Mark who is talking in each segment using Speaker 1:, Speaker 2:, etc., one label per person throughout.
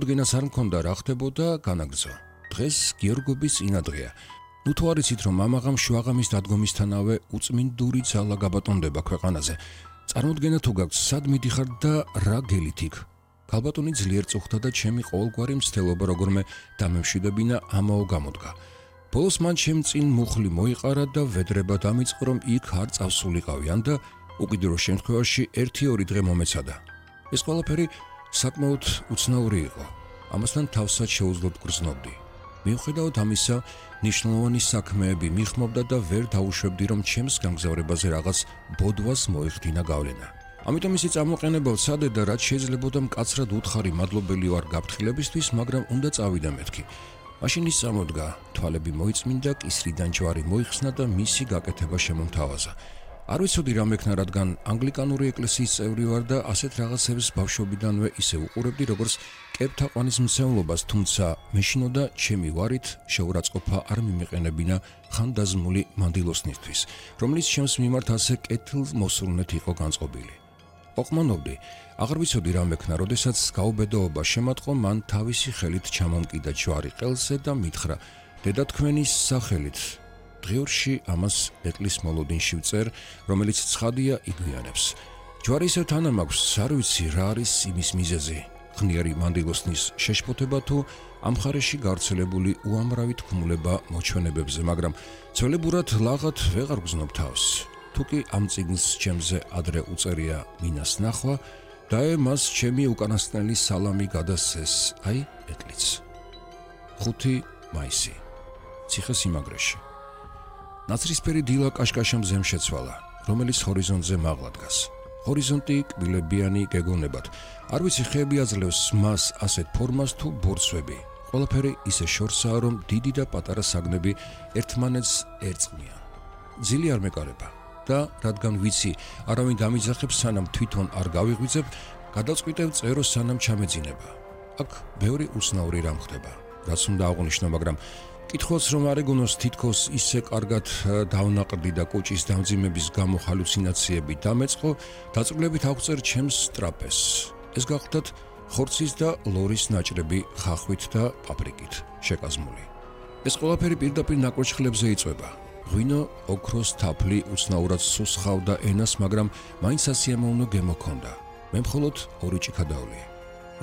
Speaker 1: წარმოდგენას არ მქონდა რა ხდებოდა განაგრძო. დღეს გიორგობის წინადღეა. ნუ თუ არ იცით რომ მამაღამ შვაღამის დადგომისთანავე უწმინდური ძალა გაბატონდება ქვეყანაზე. წარმოდგენა თუ გაქვს სად მიდიხარ და რა გელით იქ. ქალბატონი ძლიერ წუხდა და ჩემი ყოველგვარი მცდელობა როგორმე დამემშვიდებინა ამაო გამოდგა. ბოლოს მან ჩემ წინ მუხლი მოიყარა და ვედრება დამიწყო რომ იქ არ წავსულიყავიან და უკიდურო შემთხვევაში 1-2 დღე მომეცადა. ეს ყველაფერი საკმაოდ უცნაური იყო. ამასთან თავსაც შეუძლოდ გრძნობდი. მიუხედავად ამისა, ნიშნულოვანი საქმეები მიხმობდა და ვერ დაუშვებდი რომ ჩემს გამგზავრებაზე რაღაც ბოდვას მოეხდინა გავლენა. ამიტომ ისი წამოყენებელ სადე და რაც შეიძლებოდა მკაცრად უთხარი მადლობელი ვარ გაფრთხილებისთვის, მაგრამ უნდა წავიდა მეთქი. მაშინ ის წამოდგა, თვალები მოიწმინდა, კისრიდან ჯვარი მოიხსნა და მისი გაკეთება შემომთავაზა. არ ვიცოდი რა მექნა, რადგან ანგლიკანური ეკლესიის წევრი ვარ და ასეთ რაღაცებს ბავშვობიდანვე ისე უყურებდი, როგორც კეპთაყვანის მცევლობას, თუმცა მეშინოდა ჩემი ვარით შეურაცხყოფა არ მიმეყენებინა ხანდაზმული მანდილოსნისთვის, რომელიც ჩემს მიმართ ასე კეთილმოსურნეთ იყო განწყობილი. ოყმანობდი, აღარ ვიცოდი რა მექნა, როდესაც გაუბედოობა შემატყო, მან თავისი ხელით ჩამომკიდა ჯვარი ყელზე და მითხრა: დედა თქვენის სახელით დღიურში ამას ეტლის მოლოდინში ვწერ, რომელიც ცხადია იგვიანებს. ჯვარი ისევ თანა მაქვს, არ ვიცი რა არის იმის მიზეზი. ღნიერი მანდილოსნის შეშფოთება თუ ამ მხარეში გავრცელებული უამრავი თქმულება მოჩვენებებზე, მაგრამ ძველებურად ლაღად ვეღარ გზნობ თავს. თუკი ამ წიგნს ჩემზე ადრე უწერია მინას ნახვა, და მას ჩემი უკანასკნელი სალამი გადასცეს, აი ეტლიც. 5 მაისი. ციხესიმაგრეში. ნაცრისფერი დილა კაშკაშა მზემ შეცვალა, რომელიც ჰორიზონტზე მაღლა დგას. ჰორიზონტი კბილებიანი გეგონებად. არ ვიცი ხეები აძლევს მას ასეთ ფორმას თუ ბორცვები. ყველაფერი ისე შორსაა, რომ დიდი და პატარა საგნები ერთმანეთს ერწყმიან. ძილი არ მეკარება და რადგან ვიცი, არავინ დამიძახებს სანამ თვითონ არ გავიღვიძებ, გადაწყვიტებ წერო სანამ ჩამეძინება. აქ ბევრი უცნაური რამ ხდება, რაც უნდა აღვნიშნო, მაგრამ კითხოს რომ არ ეგონოს თითქოს ისე კარგად დავნაყრდი და კუჭის დამძიმების გამო ჰალუცინაციები დამეწყო, დაწვრილებით აღწერ ჩემს ტრაპეზს. ეს გახლდათ ხორცის და ლორის ნაჭრები ხახვით და პაპრიკით შეკაზმული. ეს ყველაფერი პირდაპირ ნაკურჩხლებზე იწვება. ღვინო, ოქროს თაფლი უცნაურად სუსხავდა ენას, მაგრამ მაინც ასიამოვნო გემო ჰქონდა. მე მხოლოდ 2 ჭიქა დავლიე.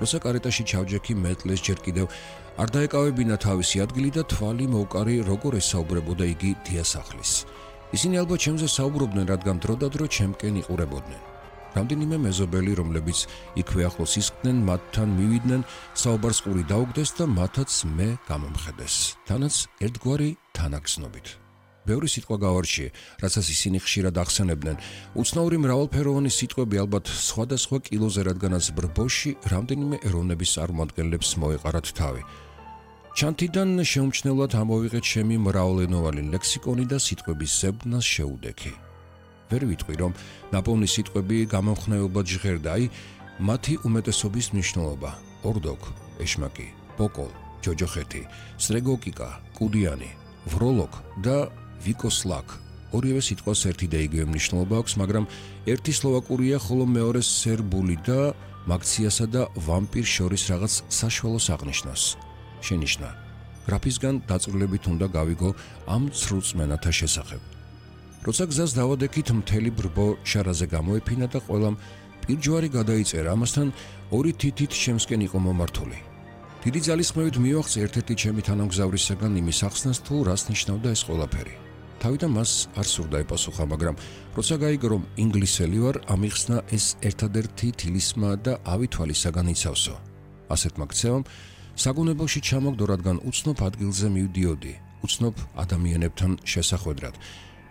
Speaker 1: როცა კარეტაში ჩავჯექი, მეტლეს ჯერ კიდევ არ დაეკავებინა თავისი ადგილი და თვალი მოვკარი, როგორ ესაუბრებოდა იგი დიასახლის. ისინი ალბათ ჩემზე საუბრობდნენ, რადგან დროდადრო ჩემკენ იყურებოდნენ. რამდენიმე მეზობელი, რომლებიც იქვე ახლოს ისხდნენ, მათთან მივიდნენ, საუბარს ყური დაუგდეს და მათაც მე გამომხედეს. თანაც ერთგვარი თანაგრძნობით. ბევრი სიტყვა გავარჩიე, რასაც ისინი ხშირად ახსენებდნენ. უცნაური მრავალფეროვანი სიტყვები ალბათ სხვადასხვა კილოზე, რადგანაც ბრბოში რამდენიმე ეროვნების წარმომადგენლებს მოეყარათ თავი. ჩანთიდან შეუმჩნევლად ამოვიღეთ ჩემი მრავალენოვანი ლექსიკონი და სიტყვების ზებდნას შეუდექი. ვერ ვიტყვი, რომ ნაპოვნი სიტყვები გამომხნევებად ჟღერდა, აი მათი უმეტესობის მნიშვნელობა: ორდოკ, ეშმაკი, პოკოლ, ჯოჯოხეთი, სტრეგოკიკა, კუდიანი, ვროლოკ და ვიკოსლაკ. ორივე სიტყვას ერთი და იგივე მნიშვნელობა აქვს, მაგრამ ერთი სლოვაკურია, ხოლო მეორე სერბული და მაქციასა და ვამპირ შორის რაღაც საშუალოს აღნიშნავს. შენიშნა. გრაფისგან დაწვრილებით უნდა გავიგო ამ ცრუწმენათა შესახებ. როცა გზას დავადექით, მთელი ბრბო შარაზე გამოეფინა და ყველამ პირჯვარი გადაიწერა, ამასთან 2 თითით შემსკენ იყო მომართული. დიდი ძალისხმევით მივახცე ერთ-ერთი ჩემი თანამგზავრისაგან იმის ახსნას, თუ რას ნიშნავდა ეს ყველაფერი. თავიდან მას არ სურდა ეპასუხა, მაგრამ როცა გაიგო რომ ინგლისელი ვარ, ამიხსნა ეს ერთადერთი თილისმა და ავი თვალისაგან იცავსო. ასეთმა ქცევამ საგუნებელში ჩამოგდო, რადგან უცნობ ადგილზე მივდიოდი, უცნობ ადამიანებთან შესახვედრად,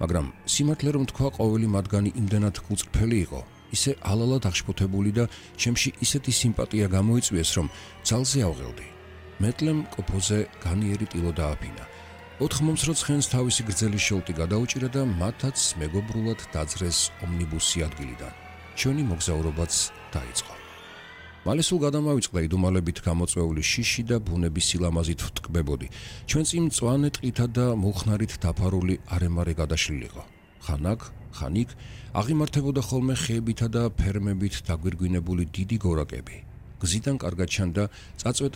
Speaker 1: მაგრამ სიმართლე რომ თქვა, ყოველი მათგანი იმდენად გულწრფელი იყო, ისე ალალად აღშფოთებული და ჩემში ისეთი სიმპათია გამოიწვიეს, რომ ძალზე ავღელდი. მეტლემ კოფოზე განიერი ტილო დააფინა. 4 მომცრო ცხენს თავისი გრძელი შოლტი გადაუჭირა და მათაც მეგობრულად დაძრეს ომნიბუსი ადგილიდან. ჩვენი მოგზაურობაც დაიწყო. მალე სულ გადამავიწყდა იდუმალებით გამოწვეული შიში და ბუნების სილამაზით ვტკბებოდი. ჩვენ წინ მწვანე ტყითა და მუხნარით დაფარული არემარე გადაშლილიყო. ხან აქ, ხან იქ აღიმართებოდა ხოლმე ხეებითა და ფერმებით დაგვირგვინებული დიდი გორაკები. გზიდან კარგად ჩანდა წაწვეტე